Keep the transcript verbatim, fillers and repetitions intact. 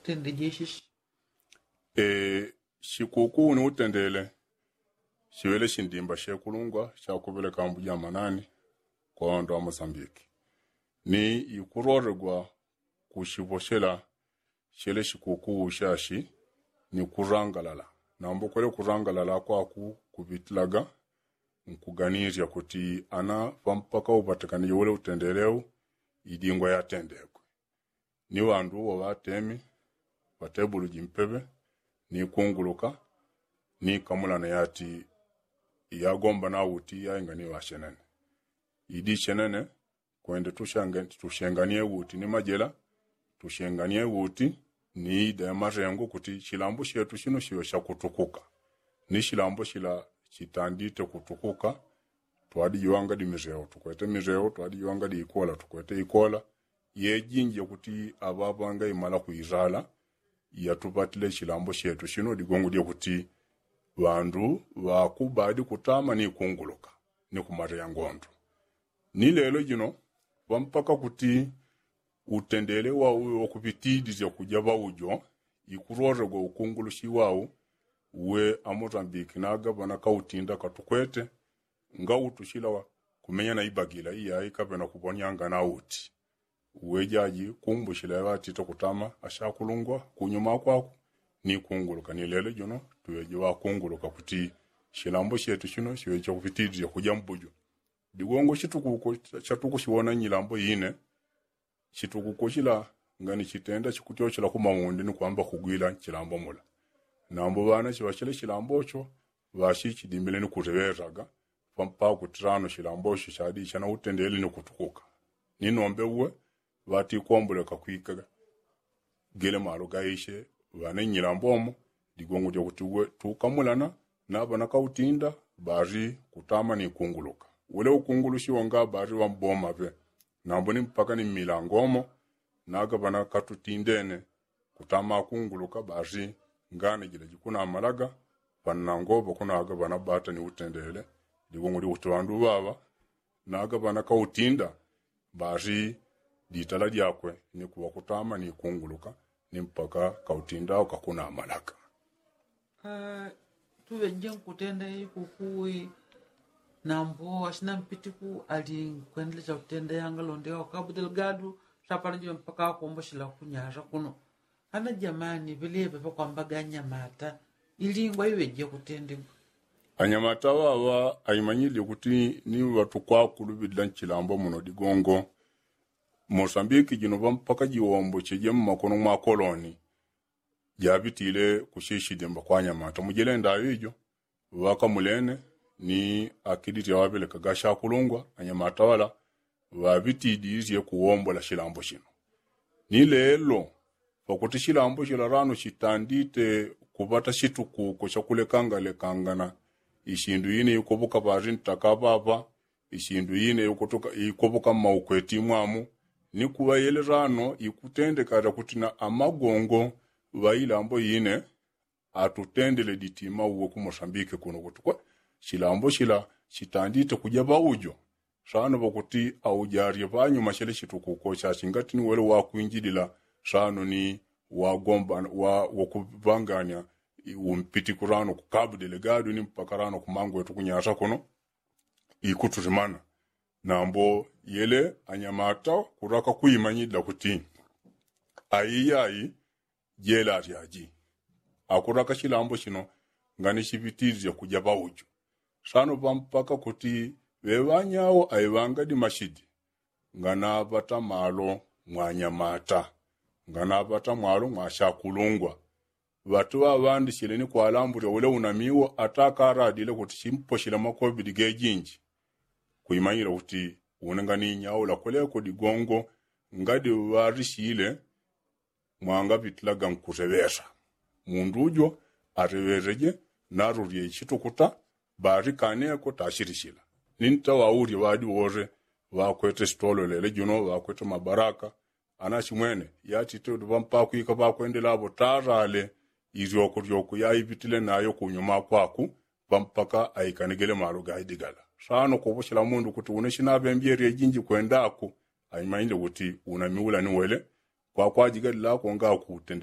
Tende jeshishi. Sikuku ni utendele siŵele sindimba shekulungwa shakupeleka mbuja manani kwa ŵandu ŵa mosambiki. Ni ikulolegwa kushiposhela shele sikuku ushashi ni kulangalala. Nambo kwele kulangalala kwaku kupitilaga nkuganilya kuti ana pampaka upatikane jowele utendele u idingwa yatendekwe ni ŵandu uwo ŵatemi ŵatebulu jimpeŵe ni kunguluka ni kamulana yati yagomba na uti yainga ni ŵashenene. Idi shenene kwende tushenganie uti ni majela tushenganie uti ni ida ya marengo kuti shilambo shetu shino shiŵe shakutukuka. Ni shilambo shila shitandite kutukuka twadijiwanga di mireo tukwete mireo twadijiwanga di ikola tukwete ikola. Yejinji yakuti aŵaŵanga imala kuizala yatupatile shilambo shetu shino digongo dyakuti ŵandu ŵakubadi kutama ni kunguluka ni kumaleya ngondo. Ni lelo jino ŵampaka kuti utendele wau wakupitidisya kuja ŵaujo ikulolegwa ukungulushi wau. Uwe amotambiki naga ŵanakautinda katukwete ngautushila kumenya na ibagila iyai kaŵena kuponyanga na uti. Uwe jaji kumbushila yaŵatite kutama ashakulungwa kunyuma kwaku ni kunguluka ni lelo jino tuŵeje ŵakunguluka kuti shilambo shetu shino shiŵeje kupitidisya kuja mbujo. Digongo shitukuko shatukushiwona nyilambo ine. Shitukuko shila ngani shitenda shikutyoshela kumaundi ni kwamba kugwila nshilambo mula. Nambo ŵana shiŵashile shilambo sho ŵashi shidimile ni kuleŵelaga pakuti lano shilambo sho shadi shana utendele ni kutukuka. Ni nombe uwe ŵatikomboleka kwika gele malo gaishe ŵane nyilambo mo. Digongo dyakuti uwe tukamulana na ŵanakautinda ŵali kutama ni kunguluka. Wele ukungulushi wanga ŵali ŵamboma ŵe nambo ni mpaka ni mmilango mo. Naga ŵanakatutindene kutama akunguluka ŵali ngane jila jikunamalaga. Ŵanango ŵakunaga ŵanabata ni utendele. Digongo dyakuti ŵandu ŵaŵa naga ŵanakautinda ŵali ditala dyakwe ni kuŵa kutama ni kunguluka ni mpaka kautinda ukakunamalaga. Tuŵeje nkutenda ikuku nambo ashina mpitiku ali nkwendelecha kutenda yanga londe wa kabu delgado. Shapala jiŵe mpaka akomboshela kunyara kuno. Ana jamani ŵeleŵe ŵakwambaga anyamata ilingwa iŵeje kutendegwa. Anyamata ŵaŵa aimanyilile kuti ni ŵatukwakulu ŵila nchilambo muno digongo. Mosambiki jino ŵampaka jiwombocheje mmakono mwa koloni. Jaŵitile kushishidimba kwa anyamata mujilenda aŵijo ŵakamulene ni akiditi aŵapelekaga ashakulungwa anyamata ŵala ŵaŵitidisye kuwombola shilambo shino. Ni lelo pakuti shilambo shila lano shitandite kuŵata shitukuko shakulekangalekangana. Ishindu ine ikoŵoka ŵali ntaka ŵaŵa ishindu ine ikoŵoka mmaukweti mwamu. Ni kuŵa yele lano ikutendeka lyakuti na amagongo ŵa ilambo ine atutendele ditima uwe ku mosambiki kuno kuti kwe shilambo shila shitandite kuja ŵaujo. Sano ŵakuti aujarye ŵanyuma shele shitukuko shashingati ni wele wakwinjilila sano ni wagomba wakuŵanganya umpitiku lano ku kabu delegado ni mpaka lano kumangwetu kunyasa kuno. Ikutulimana nambo yele anyamata kulaka kuimanyilila kuti aiyai jela alyaji. Akulaka shilambo shino ngani shiŵitililya kuja ŵaujo. Sano ŵampaka kuti ŵeŵanyao aiŵanga dimashidi nganaŵata malo mwa anyamata nganaŵata malo mwa ashakulungwa. Ŵatu ŵaŵandishile ni kwalambulya wele unamiwo atakaradile kuti shimposhile makobili gejinji. Kuimanyila kuti une nganinyaula kweleko digongo ngadi ŵarishile mwangaŵitilaga nkuteŵesa. Mundu ujo ateŵeseje narulye ishitukuta ŵarikaneko tashilishila. Ni ntaŵaulye ŵadi wose ŵakwete sitololele juno ŵakwete mabaraka. Anashimwene yatite ŵampakwika ŵakwendela ŵo tarale ilyoko lyoko yaiŵitile nayo kunyuma kwaku. Ŵampaka aikanigele malo gaidigala sano koŵoshela mundu kuti une shinaŵembyelye jinji kwendaku. Aimanyile kuti unamiula ni wele kwakwajigalilako ngaku utende.